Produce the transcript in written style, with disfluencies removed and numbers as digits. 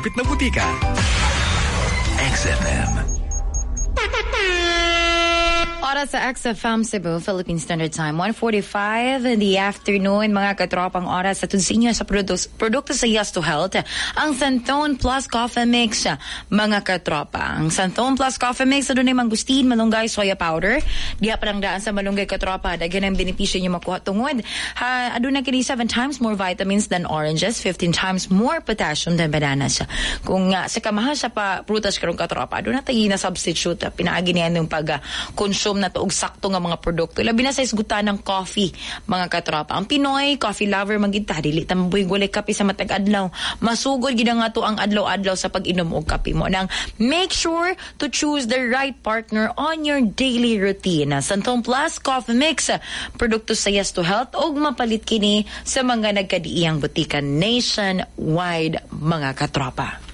Malapit na butika. XFM. Oras sa XFM Cebu, Philippine Standard Time, 1:45 in the afternoon, mga katropang oras sa sa inyo sa produkto sa Yes to Health, ang Santon Plus Coffee Mix, mga katropa. Ang Santon Plus Coffee Mix, adunay mangustin, malunggay, soya powder. Diha pa lang daan sa malunggay, katropa, daghan ang benepisyo niyo makuha tungod. Ha, aduna kini 7 times more vitamins than oranges, 15 times more potassium than bananas. Kung sa kamahal sa pa prutas karon, katropa, aduna tayo na substitute, pinaagi niya yung pag consume na to og sakto nga mga produkto. Labi na sa isgutan ng coffee, mga katropa. Ang Pinoy, coffee lover man gid ta, dili ta mabuhig walay kape sa matag adlaw. Masugod gid nga to ang adlaw-adlaw sa pag-inom og kape mo. Nang make sure to choose the right partner on your daily routine. Santon Plus Coffee Mix, produkto sa Yes to Health og mapalit kini sa mga nagkadiiyang butika nationwide, mga katropa.